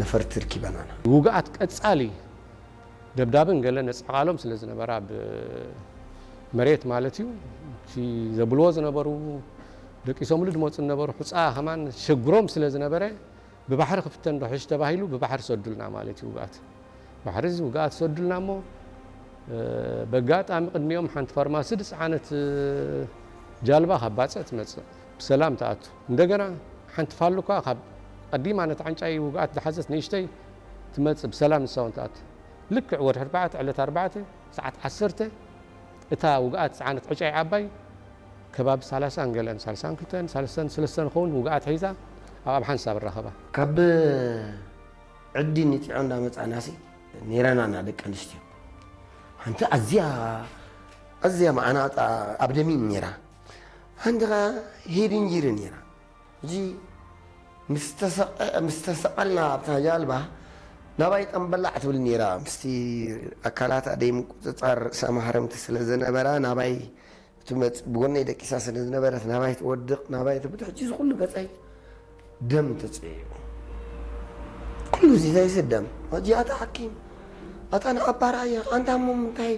ነፈርቲ ርኪበናና። ውግኣት ቀጻሊ ደብዳብን ገለ ነጽዕቓሎም ስለ ዝነበራ፣ ብ መሬት ማለት እዩ፣ እቲ ዘብልዎ ዝነበሩ፣ ደቂሶምሉ ዝመፁ ዝነበሩ፣ ሑፃ ከማን ሸግሮም ስለ ዝነበረ፣ ብባሕሪ ክፍተን ዶ ሕሽ ተባሂሉ ብባሕሪ ሰዱልና ማለት እዩ። ውግኣት ባሕሪ እዚ ውግኣት ሰዱልና እሞ፣ በጋጣሚ ቅድሚኦም ሓንቲ ፋርማሲ ዝፀዓነት ጃልባ ካብ ባፅዕ ትመፅእ፣ ብሰላም ትኣቱ። እንደገና ሓንቲ ፋሉካ ካብ ቀዲማ ነቲ ዓንጫይ ውግኣት ዝሓዘት ንእሽተይ ትመፅእ፣ ብሰላም ንሳ እውን ትኣቱ። ልክዕ ወርሒ ኣርባዕተ፣ ዕለት ኣርባዕተ፣ ሰዓት ዓሰርተ፣ እታ ውግኣት ዝፀዓነት ዕጫይ ዓባይ ከባቢ ሰላሳን ገለን፣ ሰላሳን ክልተን፣ ሰላሳን ሰለስተን ኸውን ውግኣት ሒዛ ኣብ ኣብሓንሳብ ራኸባ። ካብ ዕዲ ንጢዖ እንዳመጻናሲ፣ ኔረናና ደቂ ኣንስትዮ። ሓንቲ ኣዝያ፣ ኣዝያ መዓናጣ ኣብ ደሚም ኔራ። ሓንቲ ኸኣ ሄድንጂሪ ኔራ። እዚ ምስ ተሰቐ-፣ ምስ ተሰቐልና ኣብታ ጃልባ፣ ናባይ ጠምበላዕ ትብል ኔራ። ምስቲ ኣካላታ ደይ ምቁጽጻር ርእሳ ማህረምቲ ስለ ዝነበራ፣ ናባይ ትመጽእ፣ ብጎነይ ደቂሳ ስለ ዝነበረት፣ ናባይ ትወድቕ፣ ናባይ ትብድ። ሕጂ እዚ ኩሉ ገጸይ ደም ተጽዕዩ። ኩሉ እዚ ዘይስደም። ሕጂ ኣታ ሓኪም፣ ኣታ ንዓባራያ፣ ኣንታ እሞ ምንታይ?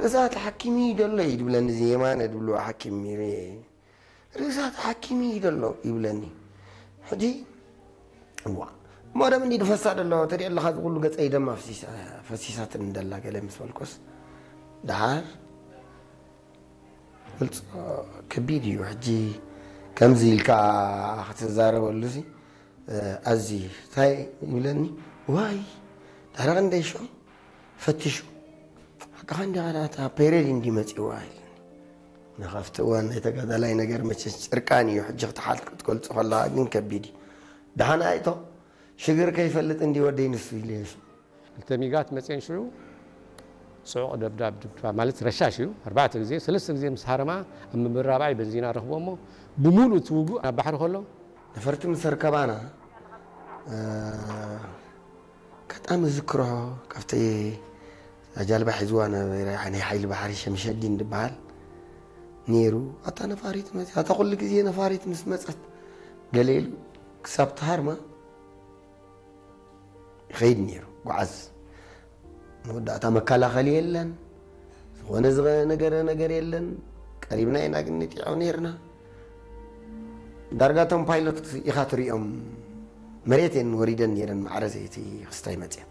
ርእሳ ተሓኪሚ ደሎ እዩ ድብለኒ፣ እዚ የማነ ድብልዎ ሓኪም ነይሩ። ርእሳ ተሓኪሚ ደሎ ይብለኒ። ሕጂ፣ እዋ፣ እሞ ደም እንዲ ድፈሳ ደሎ፣ ተሪኦ ኣለኻ፣ እዚ ኩሉ ገጸይ ደም ኣፍሲሳ-፣ ፈሲሳትኒ ደላ፣ ገለ ምስ በልኩስ፣ ደሓር፣ ገልጾ ከቢድ እዩ። ሕጂ ከምዚ ኢልካ ክትዛረበሉ ሲ፣ ኣዝዩ፣ እንታይ ይብለኒ፣ ዋይ፣ ድሕሪ ክንደይ ሽዑ ፈቲሹ፣ ሓቅኻ እንዲኻ፣ እታ ፔሬድ እንዲ መጺዋ ኢልኒ። ንኻፍቲ እዋን ናይ ተጋዳላይ ነገር መቸስ ጭርቃን እዩ፣ ሕጂ ክትሓል-፣ ክትገልጾ ከለኻ ግን ከቢድ እዩ። ደሓን ኣይቶ፣ ሽግር ከይፈልጥ እንዲ ወደይ ንሱ ኢሉ የሱ። ክልተ ሚጋት መፅየን ሽዑ ጽዑቕ ደብዳብ፣ ድብድባ ማለት ረሻሽ እዩ። ኣርባዕተ ግዜ፣ ሰለስተ ግዜ ምስ ሃረማ ኣብ ምብራባይ በንዚና ረኽቦ እሞ ብሙሉእ እቲ ውጉእ ናብ ባሕሪ ከሎ፣ ነፈርቲ ምስ ኣርከባና፣ እ፣ ኣጋጣሚ ዝክሮ ካብቲ ጃልባ ሒዝዋ ነበረ፣ ናይ ሓይሊ ባሕሪ ሸምሸዲን ዝበሃል ነይሩ። ኣታ ነፋሪት መጽያ፣ ኣታ ኩሉ ግዜ ነፋሪት ምስ መጸት ገለ ኢሉ ክሳብ ተሃርማ ይኸይድ ነይሩ፣ ጓዓዝ። መወዳእታ መከላኸሊ የለን፣ ዝኾነ ዝገ-፣ ነገረ ነገር የለን። ቀሪብና ኢና ግን ንጢዖ ነይርና። ዳርጋ እቶም ፓይሎት ኢኻ ትሪኦም፣ መሬት እየን ወሪደን ነይረን፣ ማዕረ ዘይቲ ክስታይ መፅየን።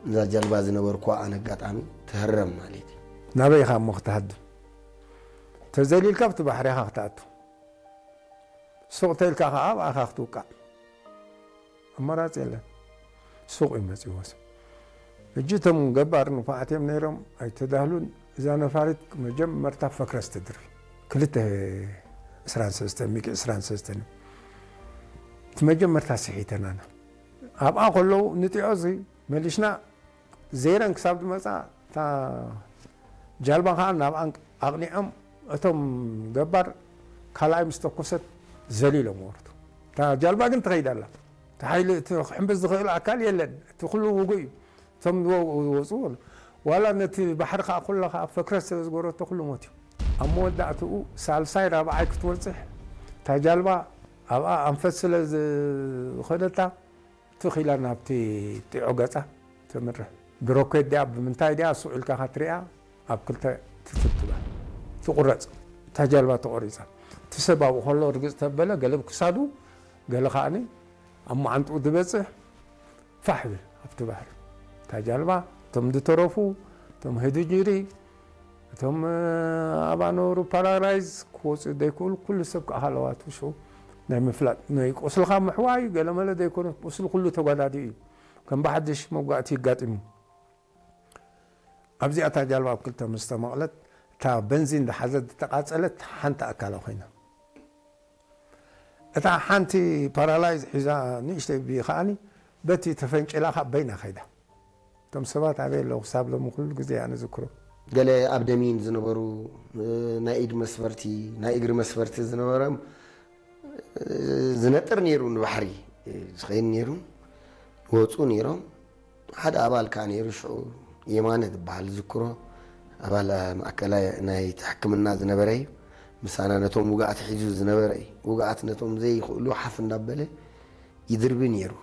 እዛ ጃልባ ዝነበርኩዋ ኣነ ኣጋጣሚ ትህረም ማለት እዩ። ናበይ ኢኻ እሞ ክትሃድም? ተዘሊልካ ኣብቲ ባሕሪ ኢኻ ክትኣቱ። ሱቕ ተልካ ኸዓ ኣብኣ ኢኻ ክትውቃዕ። ኣማራፂ የለን። ሱቕ እዩ መፂዎ ሰብ። ሕጂ እቶም ገባር ንፉዓት እዮም ነይሮም፣ ኣይተዳህሉን። እዛ ነፋሪት መጀመርታ ፈክረስ ትድርቢ። ክልተ ዕስራን ሰለስተን፣ ሚግ ዕስራን ሰለስተን እዩ። እቲ መጀመርታ ስሒተናና። ኣብኣ ከለዉ ንጢዖ እዚ መሊሽና ዘይረን ክሳብ ዝመጻ፣ እታ ጃልባ ኸዓ ናብኣን ኣቕኒዖም፣ እቶም ገባር ካልኣይ ምስ ተኮሰት ዘሊሎም ወረዱ። እታ ጃልባ ግን ትኸይድ ኣላ። እቲ ሓይሊ፣ እቲ ክሕምብስ ዝኽእል ኣካል የለን። እቲ ኩሉ ውጉእ እዩ። እቶም ዝወ-፣ ዝወፁ፣ ዋላ ነቲ ባሕሪ ኸዓ ኩሉ ኸዓ ፈክረስ ስለ ዝገበረቶ ኩሉ ሞት እዩ። ኣብ መወዳእትኡ ሳልሳይ ራብዓይ ክትበፅሕ፣ እታ ጃልባ ኣብኣ ኣንፈት ስለ ዝኸደታ፣ ትኽ ኢላ ናብቲ ጢዖ ገጻ ተምርሕ። ብሮኬት ድያ ብምንታይ ድያ ሱቕ ኢልካ ኸትሪኣ ኣብ ክልተ ትትብትባ። ትቑረጽ። እታ ጃልባ ተቖሪጻ። እቲ ሰብ ኣብኡ ከሎ ርግጽ ተበለ፣ ገለ ብክሳዱ፣ ገለ ኸኣኒ ኣብ መዓንጥኡ ዝበጽሕ ፋሕ ብል ኣብቲ ባሕሪ። እታ ጃልባ፣ እቶም ዝተረፉ፣ እቶም ህድጅሪ፣ እቶም፣ እ፣ ኣብኣ ነበሩ ፓራላይዝ ክወፁ ዘይክእሉ ኩሉ ሰብ ከዓ ሃለዋቱ ሽዑ ናይ ምፍላጥ፣ ናይ ቁስልኻ ምሕዋይ ገለመለ ዘይኮነ፣ ቁስሊ ኩሉ ተጓዳዲኡ እዩ። ከም ብሓድሽ መጓእቲ ይጋጥም እዩ። ኣብዚኣ እታ ጃልባ ኣብ ክልተ ምስ ተመቕለት፣ እታ በንዚን ዝሓዘት ዝተቓጸለት ሓንቲ ኣካላ ኮይና። እታ ሓንቲ ፓራላይዝ ሒዛ ንእሽተይ ቢ ከኣኒ በቲ ተፈንጭላ ካብ በይና ከይዳ። እቶም ሰባት ኣበይ ኣለዉ? ክሳብ ሎሚ ኩሉ ግዜ ኣነ ዝክሮ። ገለ ኣብ ደሚን ዝነበሩ፣ እ፣ ናይ ኢድ መስፈርቲ፣ ናይ እግሪ መስፈርቲ ዝነበሮም፣ እ፣ ዝነጥር ነይሩ፣ ንባሕሪ፣ እ፣ ዝኸይድ ነይሩ፣ ይወፁ ነይሮም። ሓደ ኣባል ከኣ ነይሩ፣ ሽዑ የማነ ዝበሃል ዝክሮ፣ ኣባል ማእከላይ ናይቲ ሕክምና ዝነበረ እዩ። ምሳና ነቶም ውግኣት ሒዙ ዝነበረ እዩ። ውግኣት ነቶም ዘይኽእሉ ሓፍ እንዳበለ ይድርቢ ነይሩ።